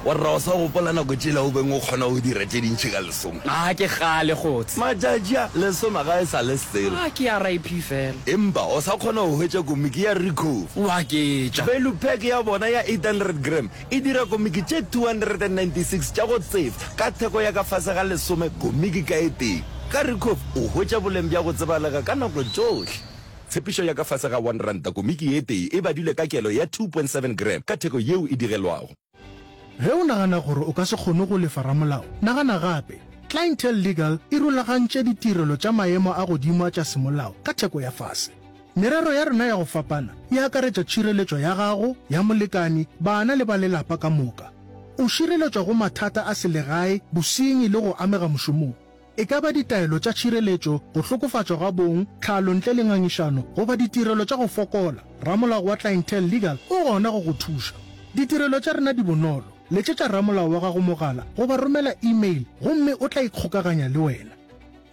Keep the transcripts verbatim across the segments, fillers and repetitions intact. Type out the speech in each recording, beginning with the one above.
Warra o sa gopola nako tšela o beng o kgona go dira tše dintši ka lesome? A ke kgale kgotse. Matšatši a, lesome ga e sa le selo. A ke R I P fela. Empa o sa kgona go hwetša komiki ya Ricoff. O aketša. Value pack ya bona ya eight hundred gram e dira komiki tše two hundred and ninety six tša go tsefa ka theko ya ka fase ga lesome komiki ka e tee. Ka Ricoff o hwetša boleng bja go tsebalega ka nako tšohle. Tshepišo ya ka fase ga one ranta komiki e tee e badilwe ka kelo ya two point seven gram ka theko yeo e digelwago. Ge o nagana gore o ka se kgone go lefa ramolao, nagana gape. Clientele Legal e rulagantše ditirelo tša maemo a godimo a tša semolao ka theko ya fase. Merero ya rena ya go fapana e akaretša tšhireletšo ya gago, ya molekani, bana le ba lelapa ka moka. O šireletšwa go mathata a selegae, bosenyi le go amega mošomong. E ka ba ditaelo tša tšhireletšo, go hlokofatšwa ga bong, tlhalo ntle le ngangišano, goba ditirelo tša go fokola, ramolao wa Clientele Legal o gona go go thuša. Ditirelo tša rena di bonolo, letšetša ramolao wa gago mogala goba romela email gomme o tla ikgokaganya le wena.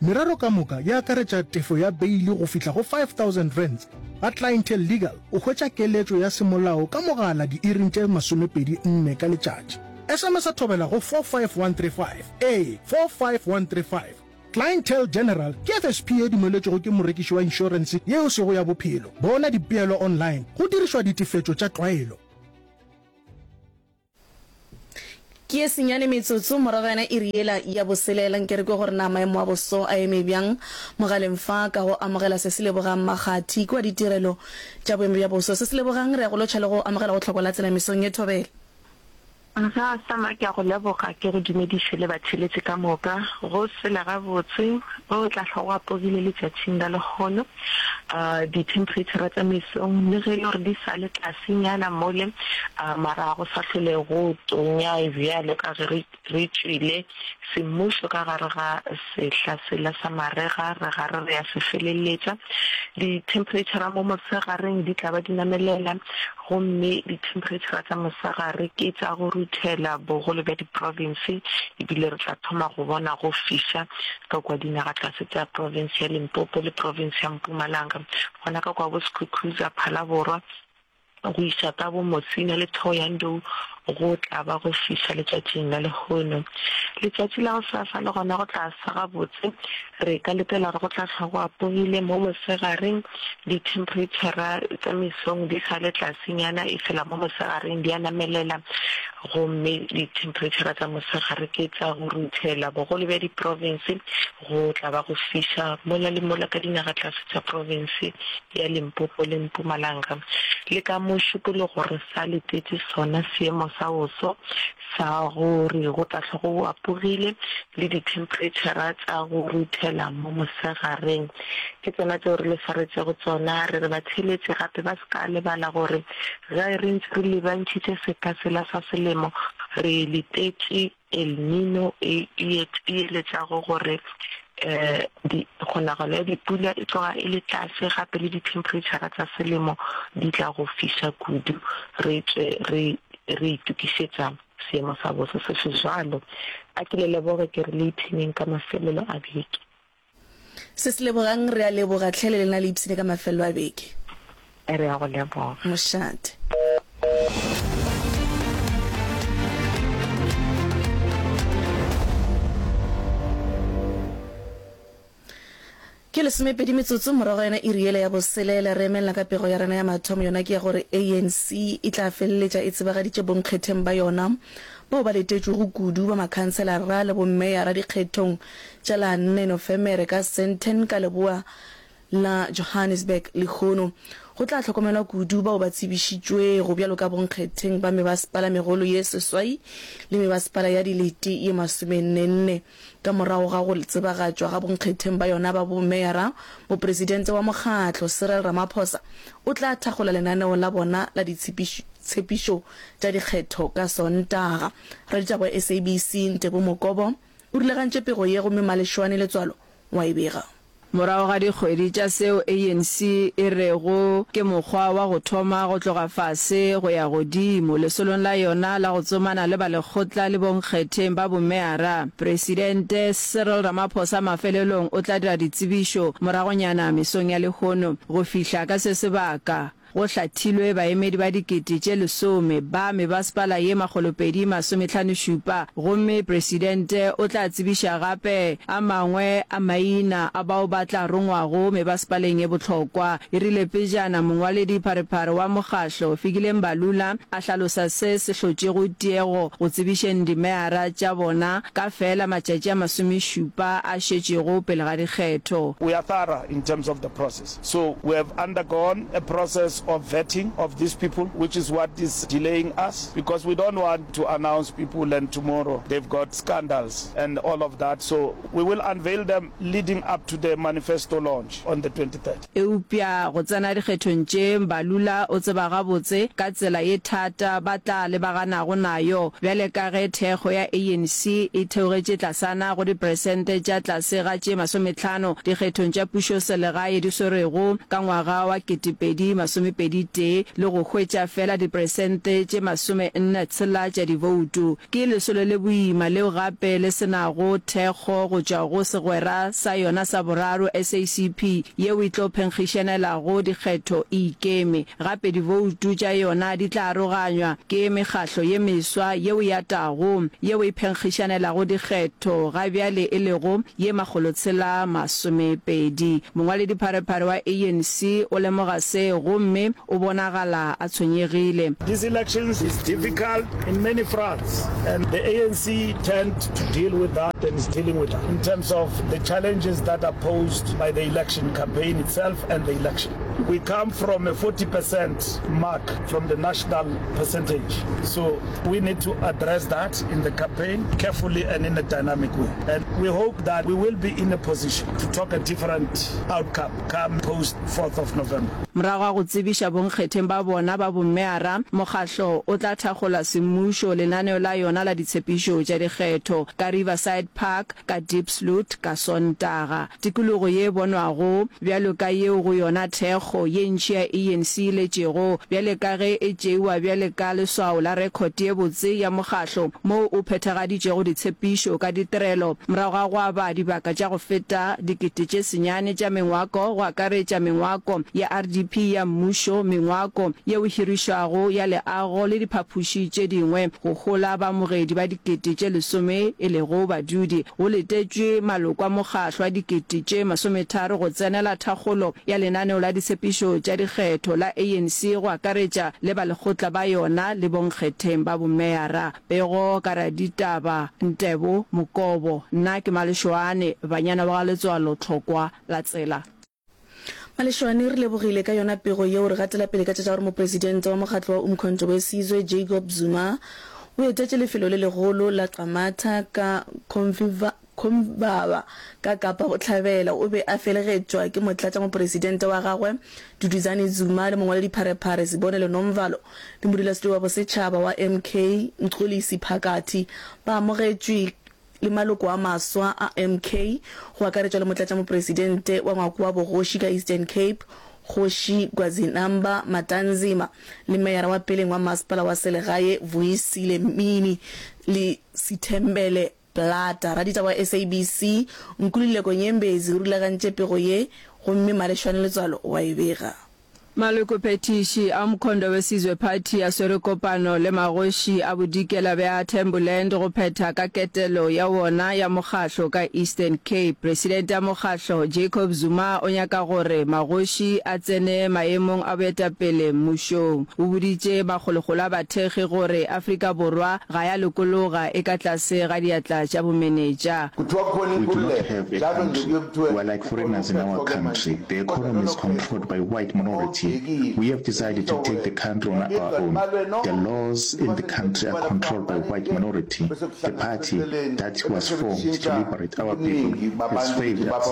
Merero ka moka e akaretša tefo ya beili go fihla go five thousand rands. Ga Clientele Legal o hwetša keletšo ya semolao ka mogala diiring tše masomepedi nne ka letšatši. S M S a thobela go four five one three five, ee, four five one three five. Clientele General ke F S P ye dumeletšwego ke morekiši wa inšorense ye e sego ya bophelo. Bona dipeelo online go dirišwa ditefetšo tša tlwaelo. Ke ye senyane metsotso morago yona iri yela ya boselela. Nke re kwe gore na maemo a boso a eme bjang mogaleng fa ka go amogela se se lebogang Makgathi kua ditirelo tša boemo bja boso. Se se lebogang re ya go lotšha le go amogela go hloko la tsela mesong ye thobela. Ga Sama ke a go leboga, ke go dumediše le batheeletši ka moka. Go sela gabotse, go tla hlwa go apogile letšatšing la lehono. Dithemphereitšhara tša mesong le ge e le gore di sa le tlasenyana mole, mara ga go sa hlole go tonya bjalo ka ge re re tšwile semmušo ka gare ga sehla sela sa marega, re gare re a se feleletša. Dithemphereitšhara mo mosegareng di tla ba di namelela, gomme dithemphereitšhara tša mosegare ke tša go ruthela bogolo bja diprofense, ebile re tla thoma go bona go fiša ka kua dinagatlase tša profense ya Limpopo le profense ya Mpumalanga, gona ka kua bo Skukuza, Phalaborwa, go iša ka bo Musina le Thohoyandou go tla ba go fiša letšatšing la lehono. Letšatši la gosasa le gona go tla sa gabotse. Re ka letela gore go tla hlwa go apogile mo mosegareng, dithemphereitšhara tša mesong di sa le tlasenyana efela mo mosegareng di a namelela gomme dithemphereitšhara tša mosegare ke tša go ruthela. Bogolo bja diprofense go tla ba go fiša mola le mola ka dinagatlase tša profense ya Limpopo le Mpumalanga. Le ka Mošupologo re sa letetše sona seemo sa boso sa gore go tla hlwa go apogile le dithemphereitšhara tša go ruthela mo mosegareng. Ke tsona tšeo re le swaretšego tsona. Re re batheeletši gape ba se ka lebala gore ge re ntše re lebantšhitše sehla sela sa selemo re letetše El Niño e e eletšago gore kgonagalo ya dipula e tloga e le tlase gape le dithemphereitšhara tša selemo di tla go fiša kudu, re tšwe re re itokišetša seemo sa boso se se bjalo. A ke le leboge ke re le ipshineng ka mafelelo a beke. Se se lebogang, re a leboga hle le lena le ipshine ka mafelelo a beke. Re a go leboga. Mošate. Ke lesomepedi metsotso morago ga yona iri yela ya boselela. Re emelela ka pego ya rena ya mathomo, yona ke ya gore A N C e tla feleletša e tsebagaditše bonkgetheng ba yona bao ba letetšwego kudu ba makhanselara le bommeyara dikgethong tša la nne Nofemere ka Sandton ka leboa la Johannesburg lehono. Go tla hlokomelwa kudu bao ba tsebišitšwego bjalo ka bonkgetheng ba mebasepala megolo ye seswai le mebasepala ya dilete ye masomennenne. Ka morago ga go tsebagatšwa ga bonkgetheng ba yona ba bomeyara, mopresidente wa mokgatlo Cyril Ramaphosa o tla thakgola lenaneo la bona la ditshepišo tša dikgetho ka Sontaga. Raditaba wa S A B C Ntebo Mokobo o rulagantše pego ye gomme Malešwane Letswalo wa e bega. Morago ga dikgwedi tša seo A N C e rego ke mokgwa wa go thoma go tloga fase go ya godimo lesolong la yona la go tsomana le balekgotla le bonkgetheng ba bomeyara, Presidente Cyril Ramaphosa mafelelong o tla dira ditsebišo moragonyana mesong ya lehono. Go fihla ka se sebaka, go hlathilwe baemedi ba dikete tše lesome ba mebasepala ye makgolopedi masomehlanošupa gomme Presidente o tla tsebiša gape a mangwe a maina a bao ba tla rongwago mebasepaleng ye bohlokwa. E rile pejana mongwaledipharephare wa mokgahlo, Fikile Mbalula, a hlalosa se se hlotšego tiego go tsebišeng dimeyara tša bona ka feela matšatši a masomešupa a šetšego pele ga dikgetho. We are thorough in terms of the process. So we have undergone a process of vetting of these people, which is what is delaying us because we don't want to announce people and tomorrow they've got scandals and all of that. So we will unveil them leading up to the manifesto launch on the twenty third. Eupša go tsena dikgethong tše, Mbalula o tseba gabotse ka tsela ye thata ba tla lebaganago nayo bjale ka ge thekgo ya A N C e theogetše tlasana go diperesente tša tlase ga tše masometlhano dikgethong tša pušoselegae di swerwego ka ngwaga wa kete pedi masomepedi tee le go hwetša feela diperesente tše masome nne tshela tša divoutu. Ke lesolo le boima leo gape le se nago thekgo go tšwa go segwera sa yona sa boraro, S A C P, yeo e tlo phenkgišanelago dikgetho e ikeme. Gape divoutu tša yona di tla aroganywa ke mekgahlo ye meswa yeo e atago yeo e phenkgišanelago dikgetho ga bjale e lego ye makgolotshela masomepedi. Mongwaledipharephare wa A N C o lemoga se gomme o bonagala a tshwenyegile. These elections is difficult in many fronts and the A N C tend to deal with that and is dealing with that in terms of the challenges that are posed by the election campaign itself and the election. We come from a forty percent mark from the national percentage, so we need to address that in the campaign carefully and in a dynamic way. And we hope that we will be in a position to talk a different outcome come post fourth of November. Morago ga go tsebiša bonkgetheng ba bona ba bommeara, mokgahlo o tla thakgola semmušo lenaneo la yona la ditshepišo tša dikgetho ka Riverside Park ka Diepsloot ka Sontaga. Tikologo ye bonwago bjalo ka yeo go yona thekgo ye ntši ya A N C e letšego bjale ka ge e tšeiwa bjale ka leswao la rekhote ye botse ya mokgahlo moo o phethagaditšego ditshepišo ka ditirelo morago ga go aba dibaka tša go feta dikete tše senyane tša mengwako go akaretša mengwako ya R D P ya mmušo, mengwako yeo e hirišwago ya leago le diphapoši tše dingwe go hola baamogedi ba dikete tše lesome e lego badudi. Go letetšwe maloko a mokgahlo a dikete tše masometharo go tsenela thakgolo ya lenaneo la ditshepišo tša dikgetho la A N C go akaretša le balekgotla ba yona le bonkgetheng ba bomeyara. Pego ka raditaba Ntebo Mokobo. Nna ke Malešoane, banyana wa ga Letswalo Tlhokwa la Tsela. Malešoane, re lebogile ka yona pego yeo. Re gatela pele ka tša gore mopresidente wa mokgatlo wa Umkhonto we Sizwe, Jacob Zuma, o etetše lefelo le legolo la Qamata ka Cofimvaba ka Kapa Bohlabela. O be a felegetšwa ke motlatšamopresidente wa gagwe Duduzane Zuma le mongwaledipharephare Sibonelo Nomvalo le modulasetulo wa bosetšhaba wa M K Mxolisi Phakathi. Ba amogetšwe le maloko a maswa a M K, go akaretšwa le motlatšamopresidente wa Ngwako wa Bogoši ka Eastern Cape, Kgoši Gwazinamba Matanzima, le meyara wa peleng wa masepala wa selegae Vuyisile Mini le Sithembele Plata. Raditaba wa S A B C Nkululeko Nyembezi o rulagantše pego ye gomme Malešwane Letswalo o a e bega. Malokophethiši a Umkhonto we Sizwe Party a swere kopano le magoši a bodikela bja Thembuland go phetha ka ketelo ya wona ya mokgahlo ka Eastern Cape. Presidente ya mokgahlo Jacob Zuma o nyaka gore magoši a tsene maemong a boetapele mmušong. O boditše makgolokgolo a bathekgi gore Afrika Borwa ga ya lokologa e ka tlase ga diatla tša bomenetša. We do not have a country. We are like foreigners in our country. The economy is controlled by white minority. We have decided to take the country on our own. The laws in the country are controlled by white minority. The party that was formed to liberate our people has failed us.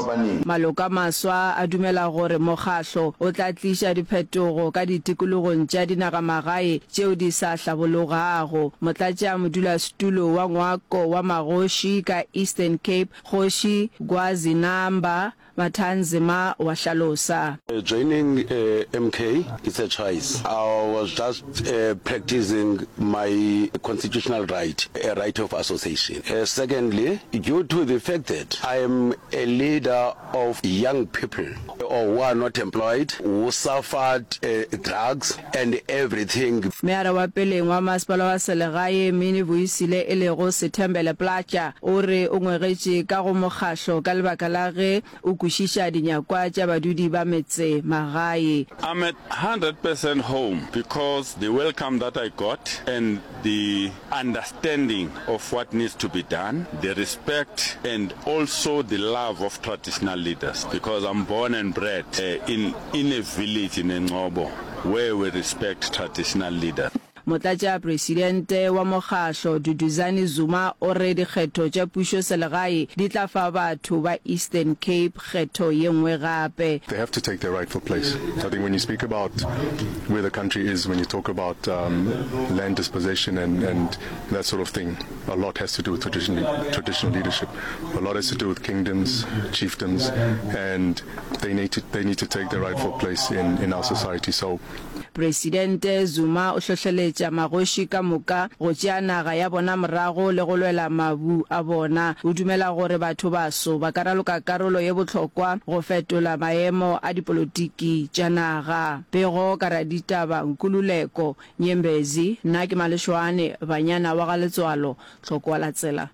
Maloko a maswa a dumela gore mokgahlo o tla tliša diphetogo ka ditikologong tša dinagamagae tšeo di sa hlabologago. Motlatšamodulasetulo wa Ngwako wa Magoši ka Eastern Cape, Kgoši Gwazinamba Mathanzima wa hlalosa. Joining M K it's a choice. I was just practicing my constitutional right, a right of association. Secondly, due to the fact that I am a leader of young people or who are not employed, who suffered drugs and everything. Meyara wa peleng wa masepala wa selegae Minnie Vuyisile e lego Sethembele Plaatje o re o ngwegetše ka go mokgahlo ka lebaka la ge o kwešiša dinyakwa tša badudi ba metse magae. I'm at hundred percent home because the welcome that I got and the understanding of what needs to be done, the respect and also the love of traditional leaders because I'm born and bred in in a village in Engcobo where we respect traditional leaders. Motlatšapresidente wa mokgahlo Duduzane Zuma o re dikgetho tša pušoselegae di tla fa batho ba Eastern Cape kgetho ye nngwe gape. They have to take their rightful place. I think when you speak about where the country is, when you talk about um, land dispossession and, and that sort of thing, a lot has to do with traditional, traditional leadership. A lot has to do with kingdoms, chiefdoms, and they need to, they need to take their rightful place in, in our society. So Presidente Zuma o hlohleletša magoši ka moka go tšea naga ya bona morago le go lwela mabu a bona. O dumela gore bathobaso ba ka raloka karolo ye bohlokwa go fetola maemo a dipolotiki tša naga. Pego ka raditaba Nkululeko Nyembezi, Nna ke Malešoane, Banyana wa ga Letswalo, Tlhoko wa Latsela.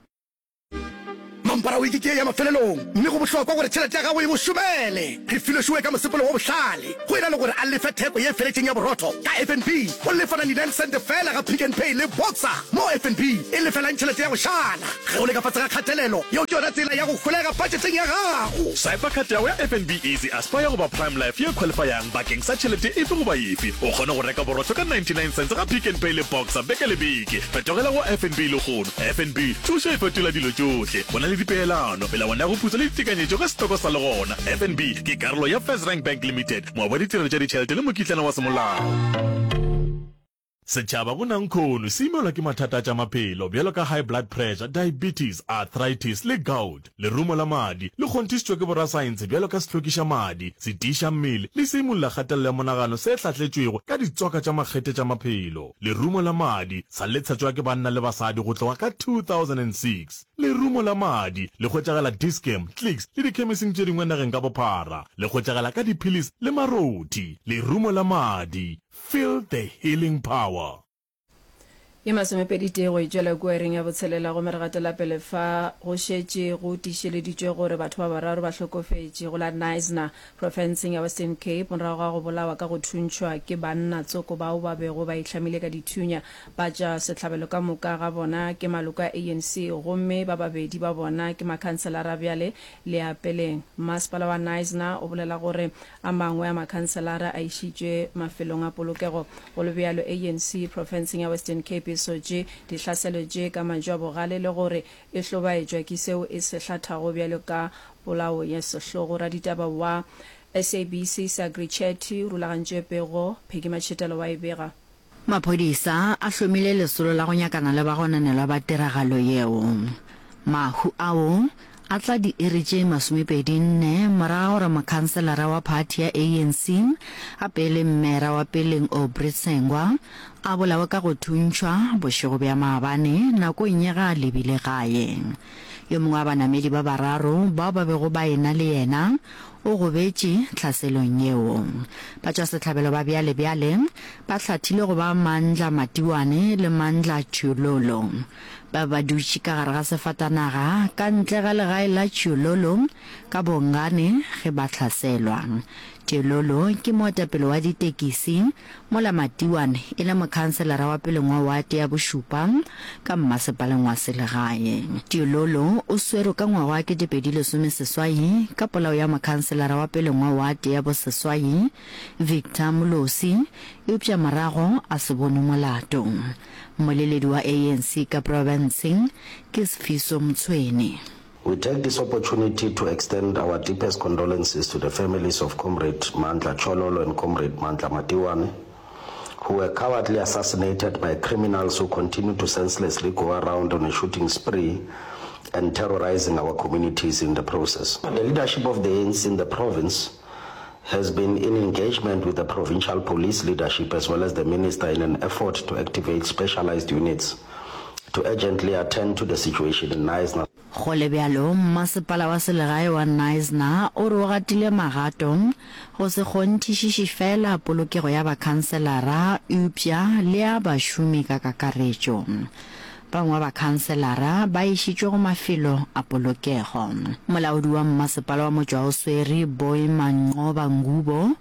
Mampara wiki ke ye ya mafelelong, mme go bohlokwa gore tšhelete ya gago e go šomele. Refilwe Shuwe ka mosepelo wo bohlale. Go e na le gore a lefe theko ye feletšeng ya borotho ka F N B, o lefa ninety-nine sente feela ga Pick n Pay le Boxer, mo F N B e lefelang tšhelete ya go šala. Ge o le ka fase ga kgatelelo, yeo ke yona tsela ya go holega patšeteng ya gago. Swipa card ya gago ya F N B Easy Aspire goba Prime Life ye qualifyang bakeng sa tšhelete efe goba efe. O kgone go reka borotho ka ninety-nine cents ga Pick n Pay le Boxer beke le beke. Fetogela go F N B lehono. F N B, thušo e fetola dilo tšohle. Go na le dipeelano, melawana ya go putsa le ditekanyetšo ge setoko sa le gona. F N B ke karolo ya FirstRand Bank Limited, moabi wa ditirelo tša ditšhelete le mokitlana wa semolao. Setšhaba go nankhono se imelwa ke mathata a tša maphelo bjalo ka high blood pressure, diabetes, arthritis le gout. Lerumo la madi le kgonthišitšwe ke borasaense bjalo ka sehlokiša madi, setiiša mmele le seimolla kgatelelo ya monagano se hlahletšwego ka ditswaka tša makgethe tša maphelo. Lerumo la madi sa le tshetšwa ke banna le basadi go tloga ka two thousand and six. Lerumo la madi le hwetšagala Dis-Chem, Clicks le dikhemising tše dingwe nageng ka bophara. Le hwetšagala ka diphilisi le marothi. Lerumo la madi, feel the healing power. Ye masomepedi tee go e tšwela kua iring ya botshelela gomme re gatela pele fa go šetše go tiišeleditšwe gore batho ba bararo ba hlokofetše go la Knysna profenseng ya Western Cape morago ga go bolawa ka go thuntšhwa ke banna tsoko bao ba bego ba ihlamile ka dithunya. Ba tša sehlabelo ka moka ga bona ke maloko a A N C gomme ba babedi ba bona ke makhanselara bjale le a peleng. Mmasepala wa Knysna o bolela gore a mangwe a makhanselara a išitšwe mafelong a polokego. Go le bjalo, A N C profenseng ya Western Cape e sotše dihlaselo tše ka mantšu a bogale le gore e hlobaetšwa ke seo e se hlathago bjalo ka polao ya sehlogo. Raditaba wa S A B C Sagri Chetty o rulagantše pego, Peggy Matšhetelo wa e bega. Maphodisa a hlomile lesolo la go nyakana le bagononelwa ba tiragalo yeo. Mahu ao a tla diiri tše masomepedi nne morago ga gore mokhanselara wa phathi ya A N C gape e le mmera wa peleng Aubrey Tsengwa a bolawe ka go thuntšhwa bošego bja maabane nakong ya ge a lebile gae. Yo mongwe wa banamedi ba bararo bao ba bego ba e-na le yena o gobetše tlhaselong yeo. Batšwasehlabelo ba bjale-bjale ba hlathile go ba Mandla Matiwane le Mandla Tšhiololo. Ba be ba dutše ka gare ga sefatanaga ka ntle ga legae la Tšhiololo ka Bongane ge ba hlaselwa. Tšhiololo ke moetapele wa ditekisi mola Matiwane e le mokhanselara wa peleng wa wate ya bošupa ka mmasepaleng wa selegae. Tšhiololo o swerwe ka ngwaga wa ketepedi lesomeseswai ka polao ya mokhanselara wa peleng wa wate ya boseswai Victor Molosi, eupša morago a se bonwe molato. Mmoleledi wa A N C ka profenseng ke Sifiso Mtshweni. We take this opportunity to extend our deepest condolences to the families of Comrade Mandla Chololo and Comrade Mandla Matiwane, who were cowardly assassinated by criminals who continue to senselessly go around on a shooting spree and terrorizing our communities in the process. The leadership of the A N C in the province has been in engagement with the provincial police leadership as well as the minister in an effort to activate specialized units to urgently attend to the situation in Knysna. Go le bjalo, mmasepala wa selegae wa Knysna o re o gatile magato go se kgonthišiše feela polokego ya bakhanselara eupša le ya bašomi ka kakaretšo. Ba bangwe ba bakhanselara ba išitšwe go mafelo a polokego. Molaodi wa mmasepala wa Motšwaoswere, Boy Manqoba Ngubo,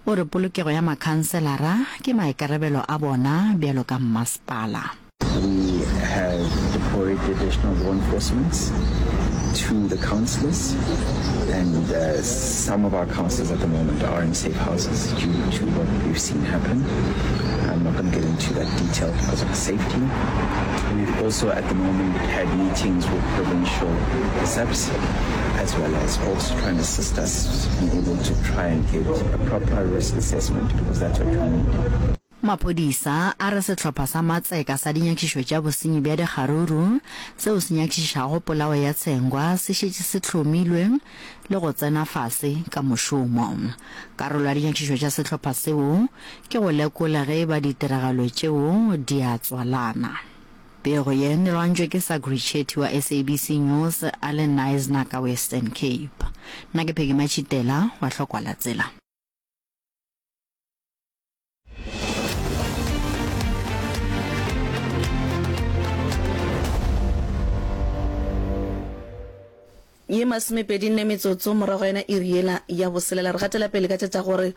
o re polokego ya makhanselara ke maikarabelo a bona bjalo ka mmasepala. We have deployed additional law enforcement to the councillors, and, uh, some of our councillors at the moment are in safe houses due to what we've seen happen. I'm not gonna get into that detail because of safety. We've also at the moment had meetings with provincial S A P S as well as also trying to assist us be able to try and get a proper risk assessment, because that's what we need. Maphodisa a re sehlopha sa matseka sa dinyakišišo tša bosenyi bja dikgaruru seo se nyakišišago polao ya Tsengwa se šetše se hlomilwe le go tsena fase ka mošomo. Karolo ya dinyakišišo tša sehlopha seo ke go lekola ge e ba ditiragalo tšeo di a tswalana. Pego ye e lwantšwe ke Sagri Chetty wa S A B C News a le Knysna ka Western Cape. Nna ke Peggy Matšhitela wa Hlokwa la Tsela. Ye masomepedi nne metsotso morago yona iri yela ya boselela, re gatela pele ka tša tša gore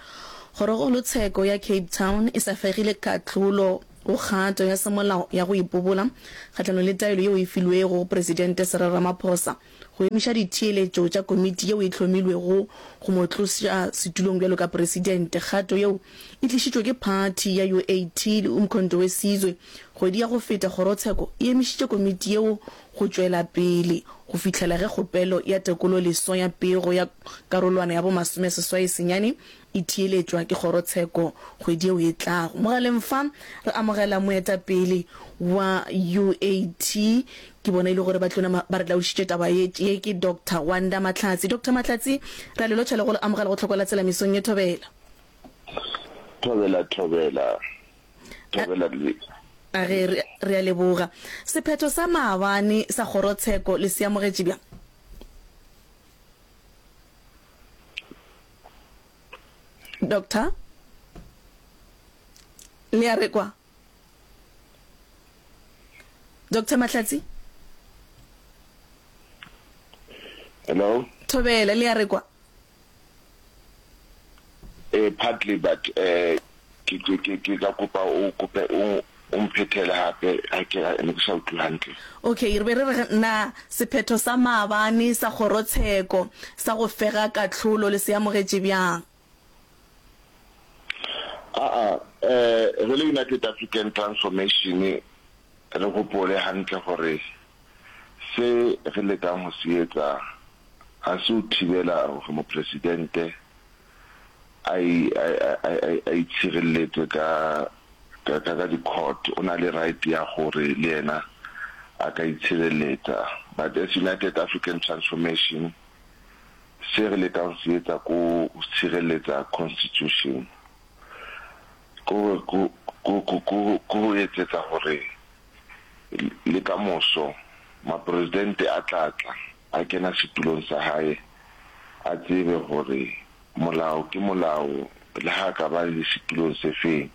kgorokgolotsheko ya Cape Town e sa fegile kahlolo go kgato ya semolao ya go ipobola kgahlanong le taelo yeo e filwego go Presidente Cyril Ramaphosa go emiša ditheeletšo tša komiti yeo e hlomilwego go mo tloša setulong bjalo ka presidente. Kgato yeo e tlišitšwe ke phathi ya U A T le Umkhonto we Sizwe. Kgwedi ya go feta kgorotsheko e emišitše komiti yeo go tšwela pele go fihlela ge kgopelo ya tekololeswa ya pego ya karolwana ya bo masomeseswai senyane e theeletšwa ke kgorotsheko kgwedi yeo e tlago. Mogaleng fa re amogela moetapele wa U A T, ke bona e le gore ba tlo nama ba re laodišitše taba ye, ye ke Doctor Wanda Mahlatsi. Doctor Mahlatsi, re a le lotšha le go le amogela go Tlhoko la Tsela mesong ye. Thobela. Thobela, thobela, thobela le. A ge re, re a leboga. Sephetho sa maabane sa kgorotsheko le se amogetše bjang? Doctor, le a re kwa? Doctor Mahlatsi? Hello? Thobela, le a re kwa? Eh, partly, but, eh, ke, ke, ke, ke ka kopa o kope o, o mphethele gape, ga ke, ne ke sa utlwe hantle. Okay, re be re re na sephetho sa maabane sa kgorotsheko sa go fega kahlolo le se amogetše bjang? Aa, eh, re le United African Transformation re gopole hantle gore se re lekang go se etsa ga se o thibela gore mopresidente a i, a, a, a, a, a itshireletse ka, ka, ka, ka di-court. O na le right ya gore le yena a ka itshireletsa. But as United African Transformation, se re lekang se etsa ko go tshireletsa constitution, ko, ko, ko, ko, ko, ko go etsetsa gore le ka moso mapresidente a tla tla a kena setulong sa hae a tsebe gore molao ke molao le ha ka ba le setulong se feng.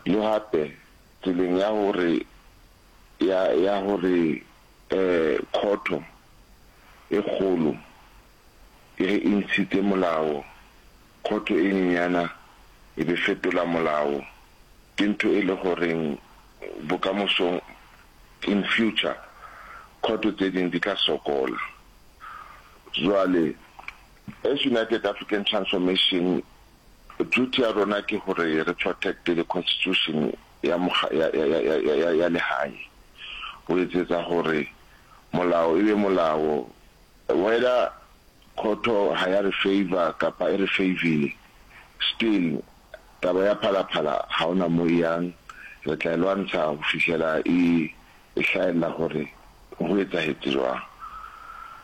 Le gape tseleng ya gore ya, ya gore, eh, khotho e kgolo e re e ntshitse molao, khotho e nyenyana e be fetola molao, ke ntho e le goreng bokamosong in future khotho tse ding di tla sokola. Jwale as United African Transformation, duty ya rona ke gore re protect the constitution ya moga, ya, ya, ya, ya, ya, ya, ya lehae, ho etsetsa gore molao e be molao, whether khotho ha ya re favor kapa e re favorile, still taba ya Phalaphala ha ona mo e yang, re tla e lwantsha ho fihlela e, e hlahella gore go etsahetse jwang.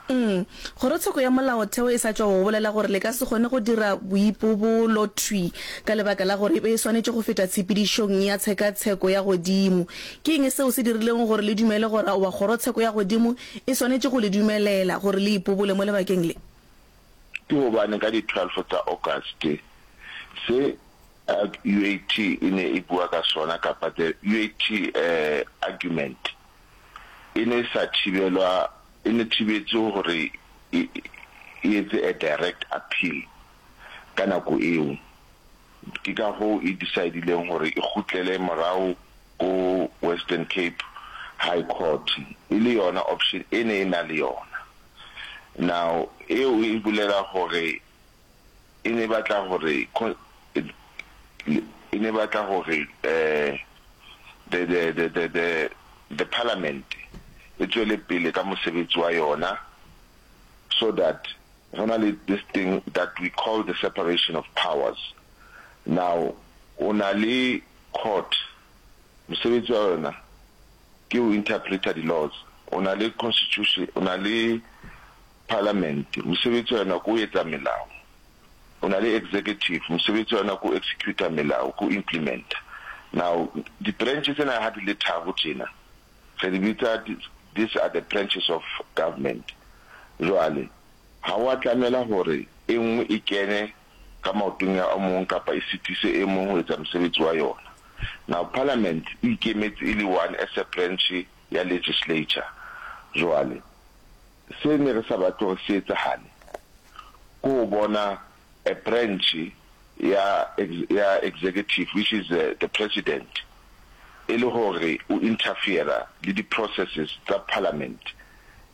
Mm. Kgorotsheko ya Molaotheo e sa tšwa go bolela gore le ka se kgone go dira boipobolo thwi ka lebaka la gore e be e swanetše go feta tshepedišong ya tshekatsheko ya godimo. Ke eng seo se dirilego gore le dumele gore aowa kgorotsheko ya godimo e swanetše go le dumelela gore le ipobole mo lebakeng le? Ke gobane ka di twelve tsa August se U A T e ne e bua ka sona kapa the U A T argument e ne e sa thibelwa, e ne thibetswe hore e e etse a direct appeal ka nako eo. Ke ka hoo e decide-ileng hore e kgutlele morao ko Western Cape High Court e le yona option e ne e na le yona. Now eo e bolela hore e ne e batla hore e ne e batla hore the the the the the the parliament e tswele pele ka mosebetsi wa yona so that go na le this thing that we call the separation of powers. Now o na le court, mosebetsi wa yona ke ho interpreter di laws, o na le constitution, o na le parliament, mosebetsi wa yona ke ho etsa melao, o na le executive, mosebetsi wa yona ke ho executa melao, ke ho implementa. Now di branch tsena ha di le tharo tjena, re di bitsa these are the branches of government. Jwale ha wa tlamela hore e nngwe e kene ka maotong ya o mong kapa e sitise e mong ho etsa mosebetsi wa yona. Now parliament e ikemetse e le one as a branch ya legislature. Jwale se ne re sa batle hore se etsahale ke ho bona a branch ya ya executive, which is the president, e le hore o interfere le di processes tsa parliament,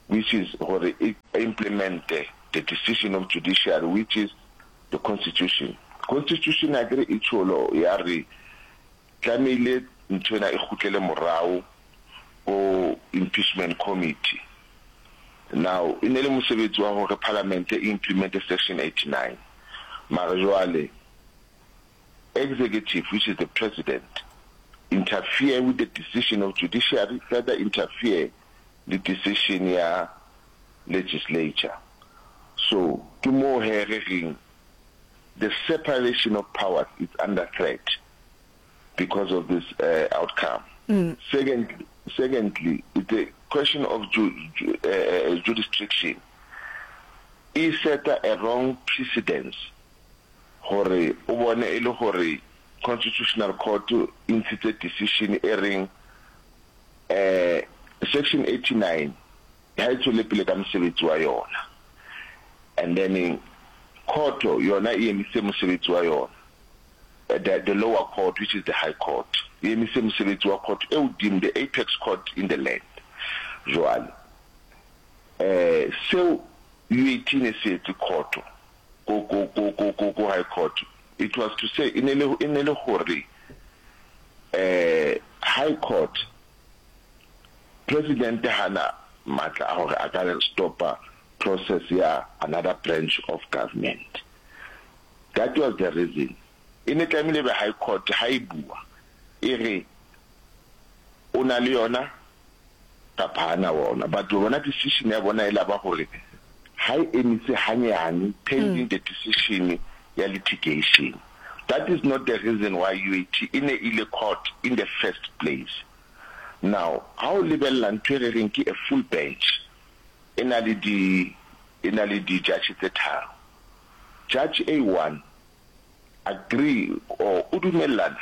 which is hore e implement the decision of judiciary, which is the constitution. Constitution akere e tjholo ya re tlamehile nthwena e kgutlele morao ko impeachment committee. Now e ne le mosebetsi wa hore parliament e implement section eighty-nine, mara jwale executive, which is the president, interfere with the decision of judiciary, further interfere le decision ya legislature. So ke moo he re reng the separation of powers is under threat because of this uh, outcome. Mm. Secondly, secondly, it's a question of ju ju uh, jurisdiction. E seta a wrong precedence gore o bone e le gore Constitutional Court e ntshitse decision e reng eh section eighty-nine ha e tswele pele ka mosebetsi wa yona, and then court yona e emise mosebetsi wa yona, the, the lower court, which is the high court, e emise mosebetsi wa court e hodimo, the apex court in the land. Jwale eh seo U A T ne se etse court ko ko ko ko ko ko high court, it was to say e ne le e ne le hore eh high court president hana matla a hore a ka stopa process ya another branch of government. That was the reason e ne tlamehile be high court ha e bua e re o na le yona kapa hana wona, but bona decision ya bona e laba hore ha e emise hanyane pending the decision ya litigation. That is not the reason why U A T e ne ile court in the first place. Now ha o lebella ntho e re reng ke a full bench, e na le di e na le di judge tse tharo, judge A one agree or o dumellana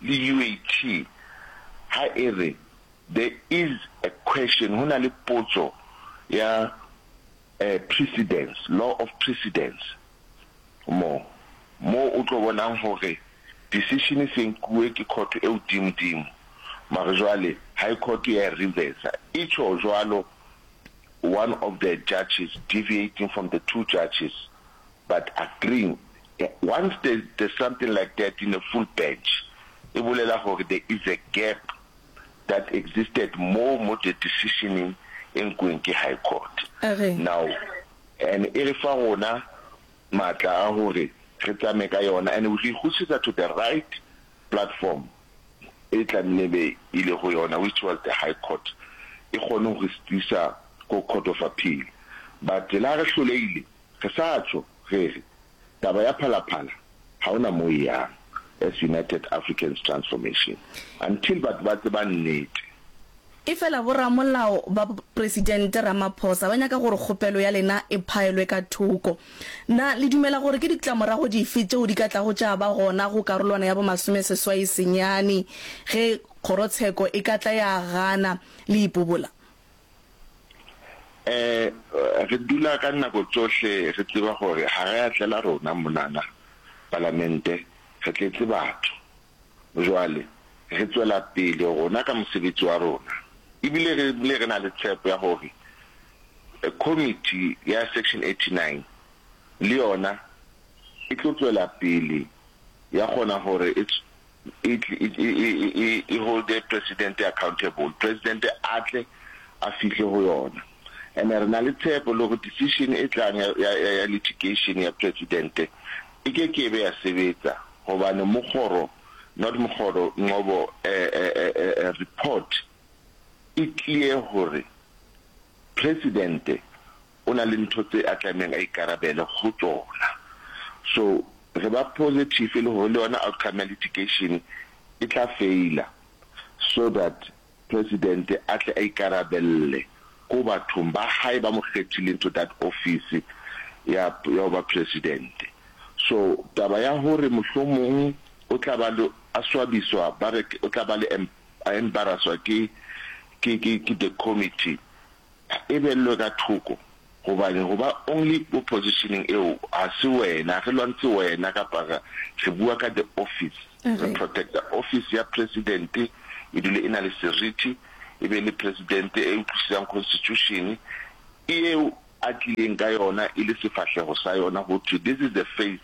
le U A T ha e re there is a question, ho na le potso ya eh, precedence, law of precedence, mo mo o tlo bonang hore decision e se nkuwe ke court e hodimo-dimo, mare jwale high court ya e reversa, e tjho jwalo one of the judges deviating from the two judges but agreeing. Once there's, there's something like that in a full bench, e bolela hore there is a gap that existed mo mo the decisioning e nkuweng ke high court. Okay. Now and e re fa rona matla a hore re tsamaye ka yona and re ikgutlisetsa to the right platform e tlamehile be ile go yona, which was the high court. e kgone go re sitisa ko Court of Appeal. But le ha re hlolehile, re sa tjho re re taba ya Phalaphala ha hona mo e yang as United Africans Transformation until batho ba tseba nnete. Efela boramolao ba Presidente Ramaphosa ba nyaka gore kgopelo ya lena e phaelwe ka thoko. Na le dumela gore ke ditlamorago dife tšeo di ka tlago tša ba gona go karolwana ya bomasomeseswai senyane ge kgorotsheko e ka tla ya gana le ipobola? E, re dula ka dinako tsohle re tseba gore ga re a tlela rona monana Palamente, re tletse batho. Jwale re tswela pele rona ka mosebetsi wa rona, ebile re bile re na le tshepo ya gore Committee ya Section eighty nine le yona e tlo tswela pele ya kgona gore e e e e e holde President accountable, President a tle a fihle go yona. And re na le tshepo le gore decision e tlang ya ya ya litigation ya President e ke ke be ya sebetsa gobane Mokgoro, not Mokgoro, Ngcobo eh eh eh report e clear gore President o na le ntho tse a tlamehang a ikarabele go tsona. So re ba positive le gore le yona outcome ya litigation e tla faila so that President a tle a ikarabelle ko bathong ba hae ba mo kgethileng to that office ya ya ho ba President. So taba ya hore mohlomong o tla ba le a swabiswa ba re o tla ba le a embarrasswa ke ke ke ke the committee e bellwe ka thoko gobane go ba only ko positioning eo ga se wena, re lwantshe wena kapa re re bua ka the office, re protecta office ya President e dule e na le seriti, e be le President e utlwisisang constitution eo a tlileng ka yona e le sefahlego sa yona go thwe this is the face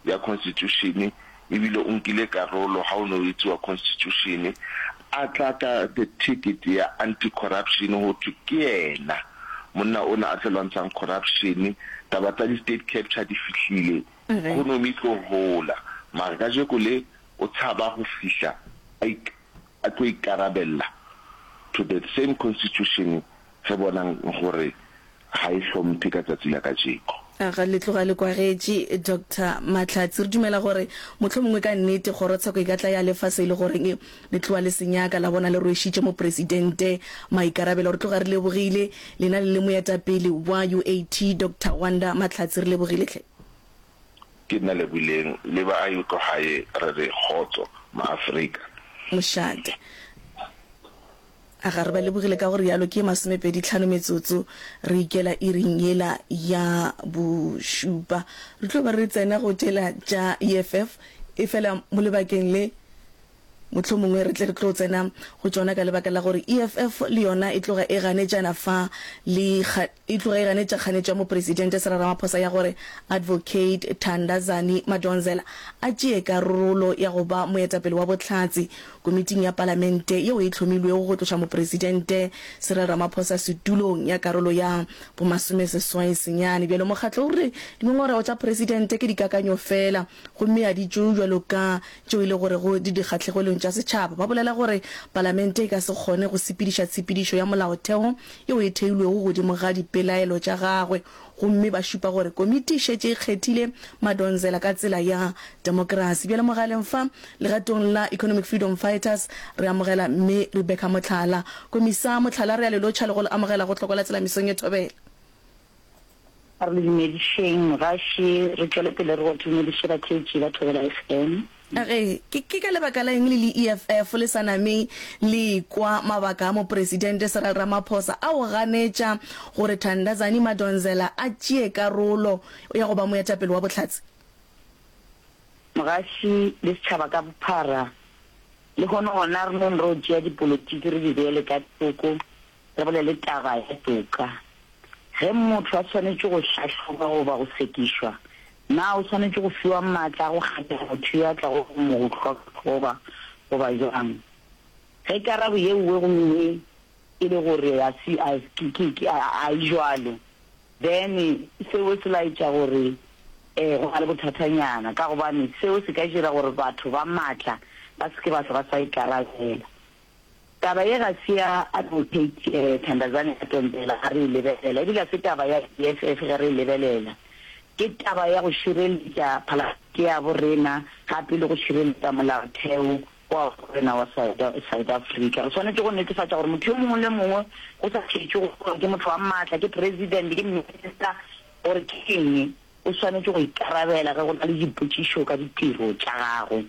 ya constitution ebile o nkile karolo ha o ne o etsiwa constitution a tla ka the ticket ya anti corruption go thwe ke yena monna ona a tlo lwantshang corruption taba tsa di state capture di fihlile economy e tlo hola mara kajeko le o tshaba go fihla a a tlo ikarabella to the same constitution re bonang gore ga e hlomphe ka tsatsi la kajeko. Aga le tloga le kwagetše, Doctor Mahlatsi. Re dumela gore mohlomongwe ka nnete kgorotsheko e ka tla ya lefa se e le goreng le tloga le se nyaka, la bona le rwešitše Mopresidente maikarabelo. Re tloga re lebogile lena le le moetapele wa U A T, Doctor Wanda Mahlatsi. Re lebogile hle. Ke nna Leboileng le ba a ko gae re re kgotso maAfrika. Mošate. A ga re ba lebogile ka go rialo? Ke masomepedi tlhano metsotso re ikela iring yela ya bošupa. Re tlo ba re tsena go tšela tša E F F, efela mo lebakeng le mohlomongwe re tle re tlo tsena go tšona ka lebaka la gore E F F le yona e tloga e ganetšana fa le e tloga e ganetša kganetšo ya Mopresidente Cyril Ramaphosa ya gore Advocate Thandazani Madonsela a tšee karolo ya go ba moetapele wa bohlatse komiting ya Palamente yeo e hlomilwego go tloša Mopresidente Cyril Ramaphosa setulong ya karolo ya bomasomeseswai senyane. Bjalo mokgatlo o re dingongorego tša Presidente ke dikakanyo feela gomme a di tšewe bjalo ka tšeo e le gorego di dikgahlegelong tša setšhaba. Ba bolela gore Palamente e ka se kgone go sepediša tshepedišo ya molaotheo yeo e theilwego godimo ga dipelaelo tša gagwe gomme ba šupa gore komiti e šetše e kgethile Madonsela ka tsela ya demokrasi. Bjale mogaleng fa legatong la Economic Freedom Fighters re amogela Mme Rebecca Mohlala. Komisa Mohlala re a le lotšha le go le amogela go Tloko la Tsela mesong ye thobela. A re le dumedišeng mogaši, re tšwele pele re go dumediše batheetši ba Thobela F M. A re, Ke, ke ka lebaka la eng le le E F F le sa name le ekwa mabaka a Mopresidente Cyril Ramaphosa a go ganetša gore Thandazani Madonsela a tšee karolo ya go ba moetapele wa bohlatse? Mogaši le setšhaba ka bophara, lehono gona re nong ro tšea dipolotiki re di beele ka thoko, re bolele taba ya toka. Ge motho a swanetše go hlahlobwa goba go sekišwa, na o swanetše go fiwa matla a go kgetha motho yo a tlago go mo hlahloba goba bjang? Ge karabo ye nngwe gomme e le gore a se a ke ke ke a e bjalo, then seo se laetša gore eh go na le bothathanyana ka gobane seo se ka dira gore batho ba matla ba se ke ba hlwa ba sa ikarabela. Taba ye ga se ya Advocate Thandazani Ntombela ga re e lebelela, ebile ga se taba ya E F F ge re e lebelela. Ke taba ya go šireletša Palamente ya bo rena gape le go šireletša Molaotheo wa rena wa South Africa. Re swanetše go netefatša gore motho yo mongwe le mongwe, go sa šetšwe gore ke motho wa maatla, ke President, ke Minister, gore ke eng, o swanetše go ikarabela ge go na le dipotšišo ka ditiro tša gagwe.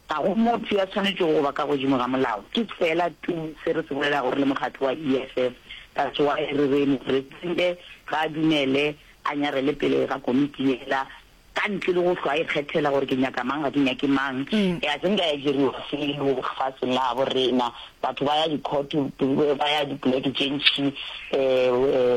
Ga go motho ya swanetšego go ba ka godimo ga molao. Ke feela tuu se re se bolelago re le mokgatlo wa E F F. That's why re re Mopresidente ga a dumele a nyarele pele ga komiti yela ka ntle le go hlwa a ikgethela gore ke nyaka mang ga ke nyake mang. Ga se nka ya diriwa selo lefaseng la gabo rena. Batho ba ya di-court, ba ya dipoleke tše ntši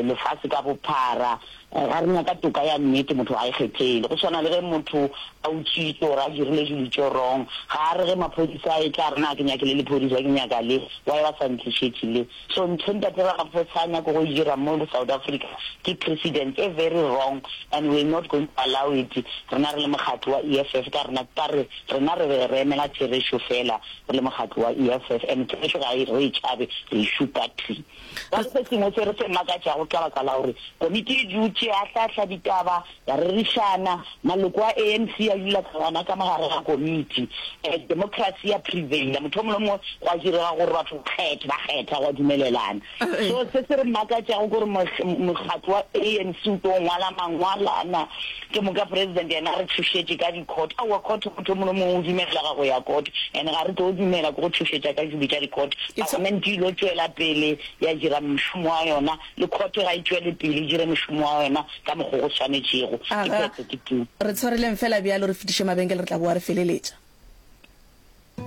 lefase ka bophara. Ga re nyaka toka ya nnete, motho ga a ikgethele. Go swana le ge motho a utswitše or a dirile dilo tše wrong, ga a re ge maphodisa a etla a re na ke nyake le lephodisa ke nyaka le, why ba sa ntlišetše le. So ntho Ntate Ramaphosa a nyako go e dira mo South Africa ke precedent e very wrong and we not going to allow it. Rena re le mokgatlo wa E F F ka rena ka re rena re be re emela therešo fela re le mokgatlo wa E F F and therešo ga re e tšhabe re e šupa thwi. Bjale se sengwe se re se makatšago ke ka baka la gore komiti e dutše ya ahlaahla ditaba, ya rerišana, maloko a A N C a dula ka gona ka mo gare ga komiti, democracy ya prevail-a, motho yo mongwe le yo mongwe gwa direga gore batho ba kgethe, ba kgetha gwa dumelelana. So se se re makatšago ke gore mokgatlo wa A N C o tlo ngwala mangwalana, ke moka president yena a re tšhošetše ka di-court. Aowa, court motho yo mongwe le yo mongwe o dumelega go ya court and ga re tlo dumela ke go tšhošetša ka dilo tša di-court. Palamente e ilo tšwela pele ya dira mošomo wa yona, le court ga e tšwele pele e dire mošomo wa yona ka mokgo go swanetšego. Ke Aga, phetho ke tuu. re tshwareleng feela bjalo re fetiše mabenkele re tla boa re feleletša.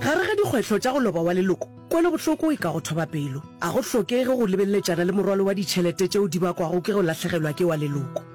Gare ga dikgwehlo tša go loba wa leloko, kwelobohloko e ka go thoba pelo. A go hlokege go lebeleletšana le morwalo wa ditšhelete tšeo di bakwago ke go lahlegelwa ke wa leloko.